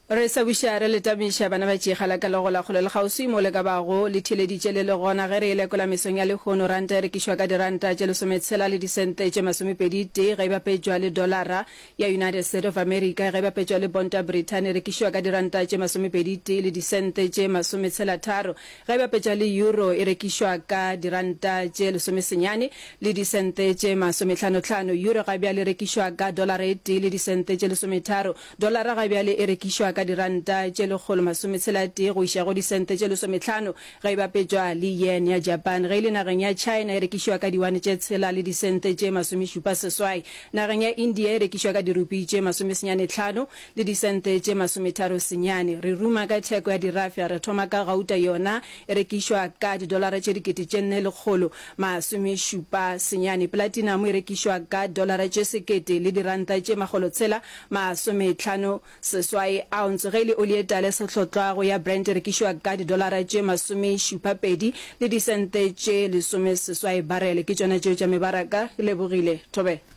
Re sa buša re le tamiša bana ba tšega la ka le gola kgole le kgauswi mo le ka bago le theeleditše le le gona ge re e lekola mesong ya lehono. Ranta e rekišwa ka diranta tše lesometshela le disente tše masomepedi tee ge e bapetšwa le dolara ya United State of America, ge e bapetšwa le ponta Brithani e rekišwa ka diranta tše masomepedi tee le disente tše masometshela tharo ge e bapetšwa le euro e rekišwa ka diranta tše lesomesenyane le disente tše masomehlanohlano. Euro ga bjale e rekišwa ka dolara e tee le disente tše lesometharo. Dolara ga bjale e rekišwa ka diranta tše lekgolo-masometshela-tee go iša go disente tše lesomehlano ge e bapetšwa le yen ya Japan. Ge e le nageng ya China e rekišwa ka diwane tše tshela le disente tše masomešupa-seswai. Nageng ya India e rekišwa ka dirupi tše masomesenyane-hlano le disente tše masometharo-senyane. Re ruma ka theko ya dirafša, re thoma ka gauta yona e rekišwa ka didolara tše 4179. Platinamo e rekišwa ka dolara tše sekete le diranta tše makgolotshela masometlhano seswai ounce. Ge e le oli e tala e sehlotlwago ya Brent e rekišwa ka didolara tše masomešupapedi le disente tše lesomeseswai barele. Ke tšona tšeo tša mebaraka. Ke lebogile. Thobela.